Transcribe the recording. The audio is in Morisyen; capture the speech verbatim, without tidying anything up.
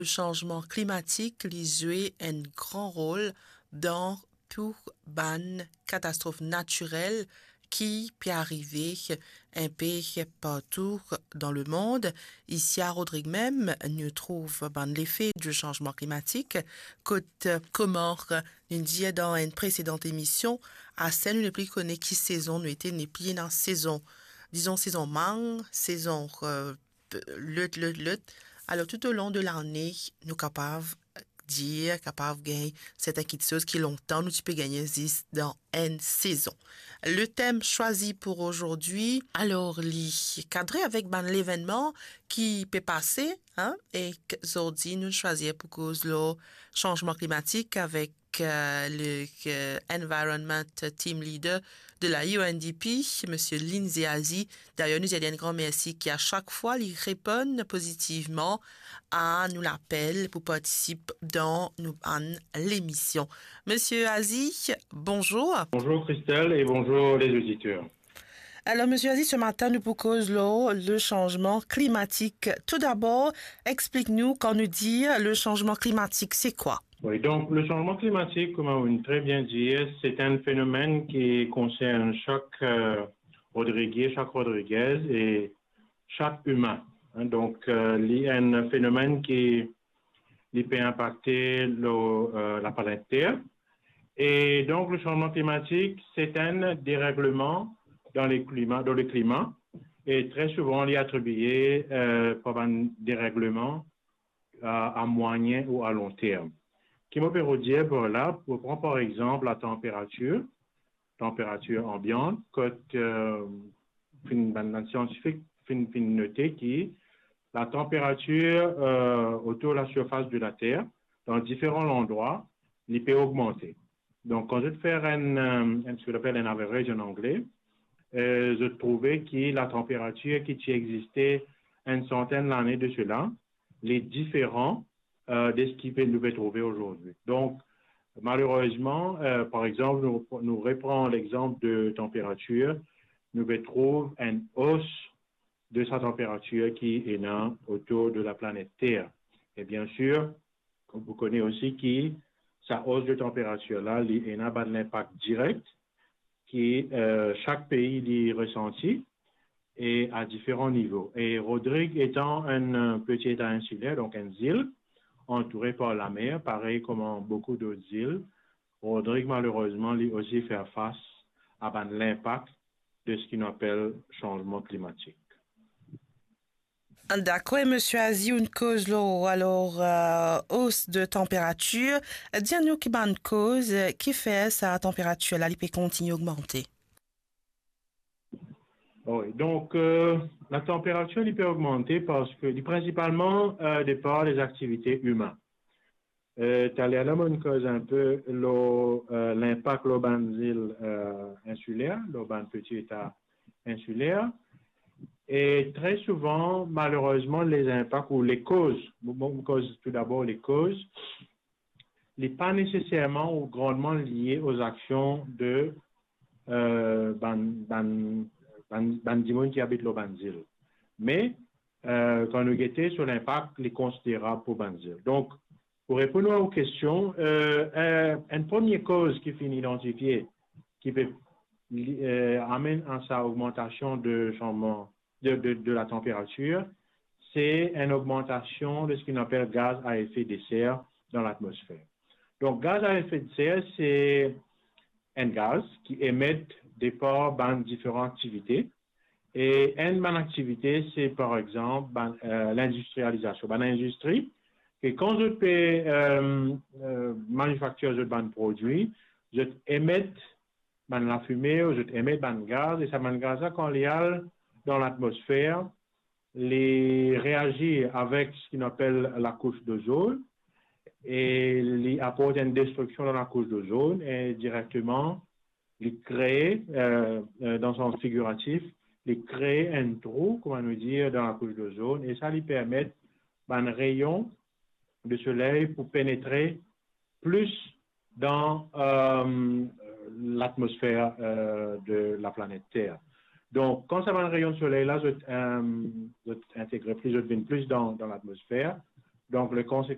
Sanzman klimatik, li zwe enn gran rol dan tou bann katastrof natirel ki pe arive inpe partou dan lemond. Isi a Rodrig mem, nou trouv bann lefe di sanzman klimatik, kot, kouma nou dir dan enn presedan emision, aster nou nepli kone ki sezon nou ete, nepli ena sezon, dizon sezon mang, sezon, eh, lot, lot, lot. Alor, toutolong de lane, nou kapav dir, kapav gagn sertin kitsoz ki lontan nou ti pe gagne zis dan enn sezon. Le tem swazi pou azordi, alor, li kadre avek bann levennman ki pe pase, hein, e k-, zordi nou swazir pou koz lor sanzman klimatik avek, eh, le, eh, Environment Team Leader de la U N D P, Misie Lindsay Aziz. Dayer, nou dir li enn gran mersi ki a sak fwa li reponn pozitivman a nou lapel pou partisip dan nou bann lemision. Misie Aziz, bonzour. Bonjour Christelle et bonjour les auditeurs. Alor, Misie Aziz, se matin nou pou koz lor le sanzman klimatik. Toudabor, explik nou, kan nou dir le sanzman klimatik, se kwa? Wi, donk, le sanzman klimatik, kouma ou'nn tre bien dir, se enn fenomenn ki konsern sak, eh, Rodrigie, sak Rodrigez e sak imin. Hein, donk, eh, li enn fenomenn ki, li pe inpakte lor, eh, laplanet Ter. E donk, le sanzman klimatik, se enn deregleman dan le klima, dan le klima, e tre souvan, li atribie, eh, par bann deregleman a, a mwayin ou a lon term. Ki mo pe rod dir par la, pou pran par exanp latanperatir, tanperatir anbiant, kot, eh, finn, bann, bann siantifik finn, finn note ki latanperatir, eh, otour lasirfas de Later, dan diferan landrwa, li pe ogmante. Donk, kan zot fer enn, eh, enn, seki apel enn average an angle, eh, zot trouve ki latanperatir ki ti existe enn santenn lane de sela, li diferan, eh, de seki pe, nou pe trouve azordi. Donk, malerezman, eh, par exanp, nou, nou repran lexanp de tanperatir, nou pe trouv enn os de sa tanperatir ki ena otour de laplanet Ter. E biensir, ou kone osi ki sa os de tanperatir la, li ena bann linpak direk ki, eh, sak pei li resanti e a diferan nivo. E Rodrig etan enn, eh, peti eta insiler, donk enn zil, antoure par lamer, parey kouma boukou dot zil, Rodrig, malerezman, li osi fer fas a bann linpak de seki nou apel sanzman klimatik. Dakor, Misie Aziz, ou'nn koz lor, alor, eh, os de tanperatir. Dir nou ki bann koz, eh, ki fer sa tanperatir la, li pe kontigne ogmante? Wi, donk, eh, latanperatir, li pe ogmante parski li prinsipalman, eh, de par lezaktivite imin. Eh, taler la, mo'nn koz inpe lor, eh, linpak lor bann zil, eh, insiler, lor bann peti eta insiler. E tre souvan, malerezman, lezinpak ou lekoz, mo, mo koz toudabor lekoz, li pa neseserman ou grandman lie o zaksion de, eh, bann, bann, bann, bann dimoun ki abit lor bann zil. Me, eh, kan nou gete so linpak, li konsiderab pou bann zil. Donk, pou reponn a ou kestion, eh, eh, enn premie koz ki finn idantifie, ki pe, eh, amenn a sa ogmantasion de sanzman de, de, de latanperatir, se enn ogmantasion de seki nou apel gaz a efe de ser dan latmosfer. Donk, gaz a efe de ser, se enn gaz ki emet de par bann diferan aktivite. E enn bann aktivite, se, par exanp, bann, eh, lindistrializasion. Bann indistri, ke kan zot pe, eh, eh, manifaktir zot bann prodwi, zot emet bann lafime, ou zot emet bann gaz, e sa bann gaz la, kan li al dan latmosfer, li reazir avek seki nou apel lakous dozon, e li aport enn destriksion dan lakous dozon, e direkteman, li kree, eh, eh, dan sans figiratif, li kree enn trou, kouma nou dir, dan lakous dozon, e sa li permet bann reyon de soley pou penetre plis dan, eh, latmosfer, eh, de laplanet Ter. Donk, kan sa bann reyon soley la, zot, eh, zot integre plis, zot vinn plis dan, dan latmosfer, donk, le konsek-,